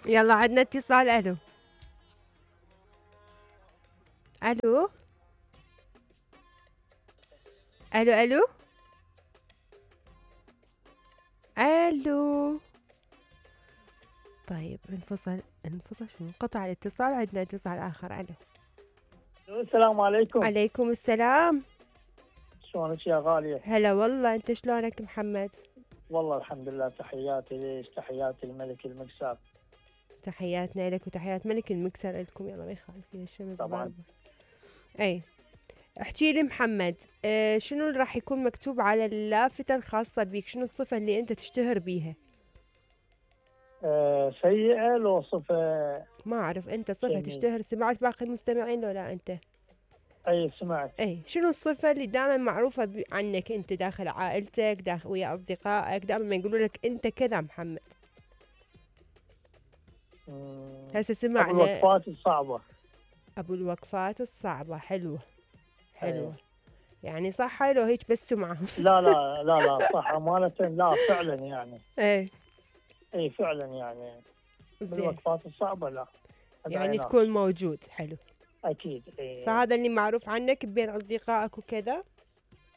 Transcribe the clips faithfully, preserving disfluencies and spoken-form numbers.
يلا عندنا اتصال. الو الو الو الو الو. طيب انفصل انفصل شنو انقطع الاتصال. عندنا اتصال اخر. الو السلام عليكم. عليكم السلام. شلونك يا غالية؟ هلا والله، انت شلونك محمد؟ والله الحمد لله. تحياتي ليش، تحياتي الملك المكسر. تحياتنا لك وتحيات ملك المكسر لكم. يلا ما يخالف الشمس طبعا. ضاربة. اي احكي لي محمد، اه شنو اللي راح يكون مكتوب على اللافتة الخاصة بيك؟ شنو الصفة اللي انت تشتهر بيها؟ آه سيئة لو صفة؟ ما اعرف، انت صفة جميل. تشتهر. سمعت باقي المستمعين لو لا انت؟ اي سمعت. اي شنو الصفة اللي دائما معروفة عنك انت داخل عائلتك، داخل ويا اصدقائك، دائما ما يقولوا لك انت كذا محمد؟ هسه سمعنا ابو الوقفات الصعبة. ابو الوقفات الصعبة. حلوة حلوة. أي. يعني صح لو هيك بس سمعة؟ لا لا لا لا صح أمانة. لا فعلا يعني. اي اي فعلا يعني. زين. بالوقفات الصعبة لا. يعني تكون موجود. حلو. اكيد. اي. فهذا اللي معروف عنك بين اصدقائك وكذا.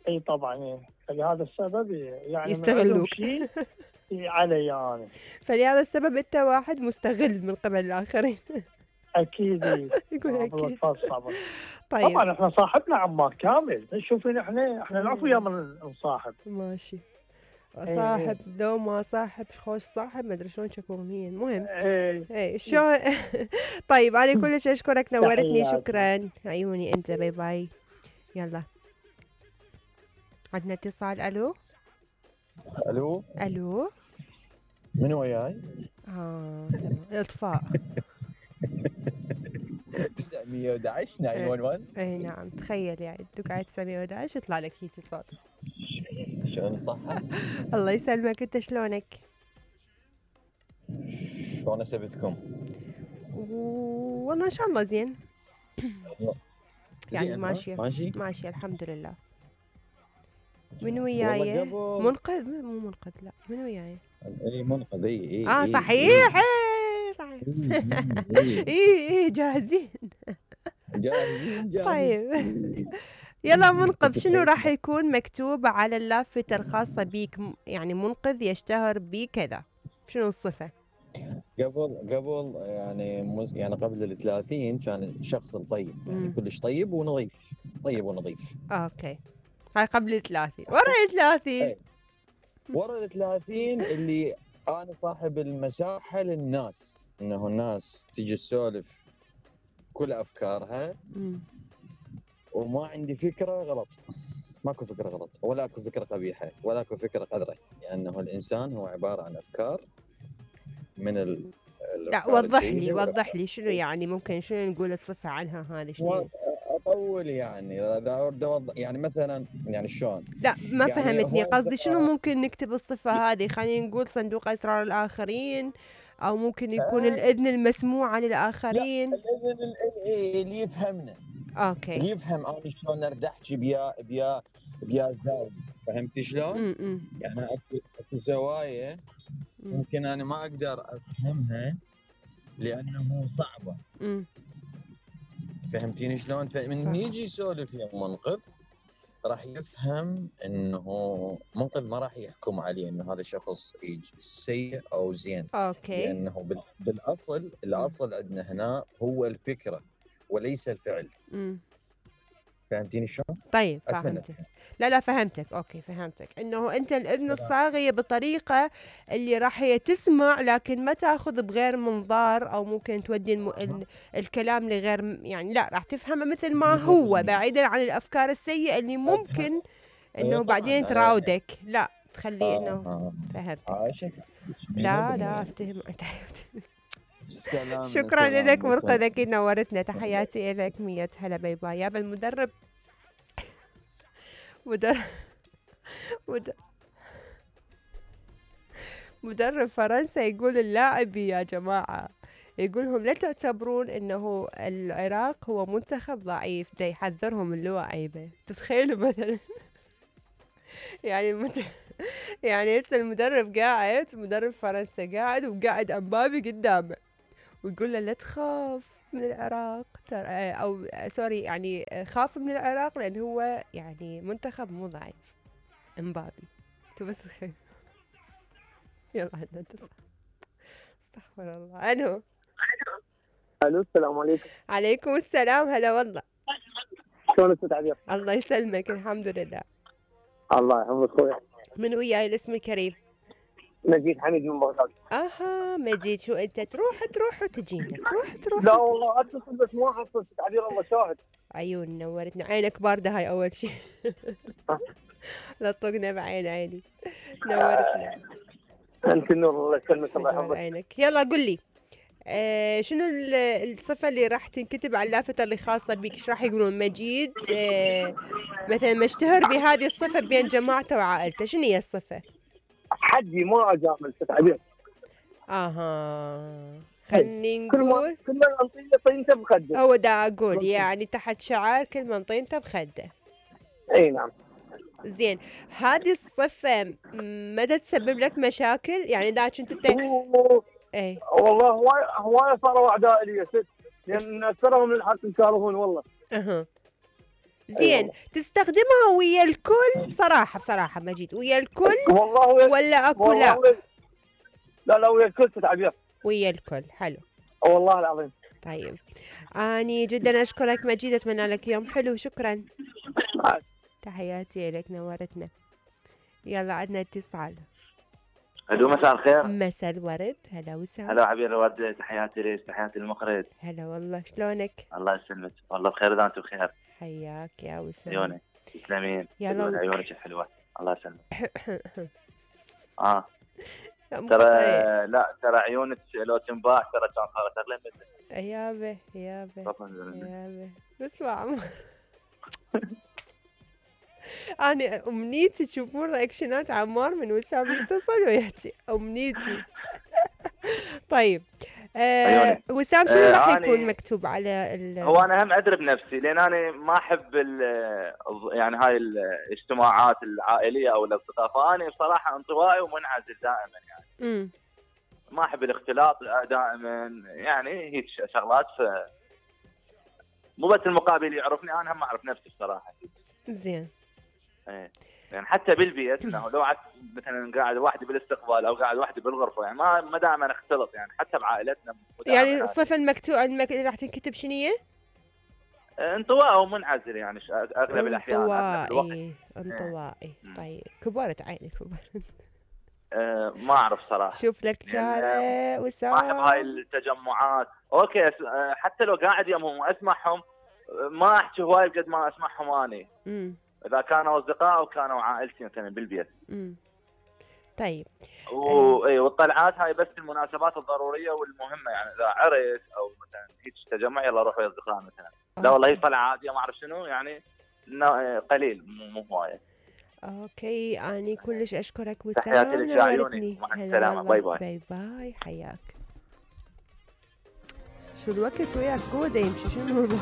اي طبعا. إيه. فلهذا السبب يعني يستغلوك. شيء علي انا. فلهذا السبب انت واحد مستغل من قبل الاخرين. اكيد. يقول اكيد. صعبة. طيب طبعا احنا صاحبنا عمار كامل. شوفين احنا احنا نعرف ويا من نصاحب. ماشي. ايه صاحب لو ما صاحب خوش صاحب، ما ادري شلون شكو اغنية. المهم ايه ايه شلون. طيب انا كلش اشكرك، نورتني. شكرا عيوني انت. باي باي. يلا عندنا اتصال. الو الو الو. من وياي؟ اه تمام. اطفاء. تسعمية وأحد عشر تسعة واحد واحد. اي نعم، تخيل يعني تدق على تسعمية وأحد عشر يطلع لك هيك صوت. شلون الصحة؟ الله يسلمك. انت شلونك؟ شلون اسبتكم؟ والله ان شاء الله زين. يعني زين ماشية ماشي ماشية الحمد لله. من وياي؟ قبل... منقذ؟ مو منقذ، لا من وياي؟ اي منقذ. اي اي اه إيه صحيح. اي ايه صحيح. اي ايه ايه جاهزين. جاهزين جاهزين. طيب يلا منقذ، شنو راح يكون مكتوب على اللافتة الخاصة بيك؟ يعني منقذ يشتهر بكذا، شنو الصفة؟ قبل قبل يعني مز... يعني قبل الثلاثين كان شخص طيب، يعني مم. كلش طيب ونظيف. طيب ونظيف. اوكي هاي قبل الثلاثين. ورا الثلاثين؟ أي. ورا الثلاثين اللي انا صاحب المساحة للناس، انه الناس تجي تسولف كل افكارها. مم. وما عندي فكرة غلط. ماكو فكرة غلط ولا اكو فكرة قبيحة ولا اكو فكرة قذرة، لانه يعني الانسان هو عبارة عن افكار من ال لا وضح لي وضح لي شنو يعني، ممكن شنو نقول الصفة عنها هذه؟ شنو اطول يعني اذا اريد اوضح يعني مثلا يعني شلون؟ لا ما يعني فهمتني هو قصدي شنو ممكن نكتب الصفة هذه؟ خلينا نقول صندوق اسرار الاخرين، او ممكن يكون الاذن المسموعة للاخرين. لا الاذن اللي يفهمنا. اوكي اللي يفهم انا شلون ارد احكي بيا بيا بيا زاوية. فهمتي شلون؟ امم يعني اكو اكو زوايا ممكن انا ما اقدر افهمها لانه صعبة. امم فهمتيني شلون؟ فمن يجي يسولف يا منقذ راح يفهم انه منقذ ما راح يحكم عليه انه هذا شخص سيء او زين. اوكي. لانه بالاصل الاصل عندنا هنا هو الفكرة وليس الفعل. امم فهمتيني شلون؟ طيب فهمتك. لا لا فهمتك. اوكي فهمتك انه انت الاذن الصاغية بطريقة اللي راح هي تسمع لكن ما تاخذ بغير منظار، او ممكن تودي الم... ال... الكلام لغير يعني، لا راح تفهمه مثل ما هو بعيدا عن الافكار السيئة اللي ممكن انه بعدين تراودك. لا تخليه انه فهمتك. لا لا افتهم. شكرا لك منقذ، اكيد نورتنا. تحياتي لك. مية هلا. باي باي. يابا المدرب مدرب مدرب مدرب فرنسا يقول اللاعبي يا جماعة، يقولهم لا تعتبرون انه العراق هو منتخب ضعيف، دا يحذرهم من اللعيبة. تتخيلوا مثلا يعني المنتخب يعني هسه المدرب قاعد، مدرب فرنسا قاعد وقاعد امبابي قدامه ويقول له لا تخاف من العراق ترى، آه، او آه، سوري يعني آه، خاف من العراق لان هو يعني منتخب مو ضعيف. امبابي انتو بس خير. يلا عندنا اتصال. استغفر الله. انو الو السلام عليكم. عليكم السلام. هلا والله. شلون استاذ عبير؟ الله يسلمك. الحمد لله. الله يحفظك اخوي. من وياي الاسم الكريم؟ مجيد حميد من بغداد. اها مجيد، شو انت تروح تروح وتجينا تروح تروح لا وتجي. والله اتصل بس ما احصل استاذ عبير، الله شاهد. عيون نورتنا، عينك باردة هاي أول شي. لطقنا بعين عيني. نورتنا. انت النور، الله يسلمك الله نور يحفظك. عينك. يلا قل لي آه شنو ال- الصفة اللي راح تنكتب على اللافتة اللي خاصة بيك؟ ايش راح يقولون؟ مجيد آه مثلا مشتهر بهذه الصفة بين جماعته وعائلته، شنو هي الصفة؟ حدي ما اجامل استاذ عبير. اها خلني كل ما نقول. كل ما انطيه طينته بخده. هو دا اقول يعني تحت شعار كل من طينته بخده. اي نعم. زين، هذه الصفة م- مدى تسبب لك مشاكل؟ يعني دا كنت انت و- ايه والله هواي هواي صاروا اعداء لي يا ست، لان اكثرهم للحق يكارهون والله. اها أي زين، والله. تستخدمها ويا الكل بصراحة بصراحة مجيد؟ ويا الكل والله ويا ولا اكو والله لا؟ ويا لا لا ويا الكل استاذ عبير. ويا الكل. حلو. والله العظيم. طيب اني جدا اشكرك مجيد، اتمنى لك يوم حلو. شكرا. عاد. تحياتي لك، نورتنا. يلا عندنا اتصال. الو مساء الخير. مساء الورد. هلا وسهلا. هلا عبير الورد، تحياتي ليش، تحياتي للمخرج. هلا والله، شلونك؟ الله يسلمك، والله بخير اذا انت بخير. حياك يا وسهلا. عيونك تسلمين. يلا. حلوة، عيونك حلوه، الله يسلمك. اه لا، مو ترى خطأ. لا ترى عيونك لو تنباع ترى كان صارت اغلى منك. يابه يابه تفضل. يابه. اسمع عمر. انا امنيتي تشوفون رياكشنات عمار من وسام يتصل ويحكي، امنيتي. طيب آه عيوني. وسام شنو آه، راح أنا- يكون مكتوب على ال هو انا هم ادري بنفسي، لان انا ما احب ال- يعني هاي الاجتماعات العائليه او الاصدقاء، فانا بصراحه انطوائي ومنعزل دائما يعني. امم ما احب الاختلاط دائما، يعني هيك شغلات. ف مو بس المقابل يعرفني، انا هم اعرف نفسي بصراحه. زين. ايه يعني حتى بالبيت انه لو قعدت مثلا قاعد وحدي بالاستقبال او قاعد وحدي بالغرفه، يعني ما ما دائما نختلط، يعني حتى بعائلتنا مو دائما يعني هذا. الصفة المكتوبة المك... اللي راح تنكتب شنو هي؟ آه، انطوائي ومنعزل يعني ش- اغلب الاحيان اغلب الوقت. انطوائي. انطوائي. مم. طيب كبرت عيني كبرت. آه، ما اعرف صراحه. شوف لك لأن شارع وسام. ما احب هاي التجمعات. اوكي أس- آه، حتى لو قاعد يمهم واسمعهم، آه، ما احكي هواي قد ما اسمعهم اني، امم اذا كانوا اصدقاء او كانوا عائلتي مثلا بالبيت. امم طيب و... اي والطلعات هاي بس المناسبات الضروريه والمهمه، يعني اذا عرس او مثلا هيك تجمع يلا روح ويا اصدقاء مثلا. لا والله هي طلعه عاديه ما اعرف شنو يعني، نا- قليل مو مو هوايه. اوكي اني كلش اشكرك وسام، تحياتي لك يا عيوني، نورتني. مع هلا السلامة، والله. باي باي. باي باي. حياك. شو الوقت وياك قوة يمشي، شنو الموضوع؟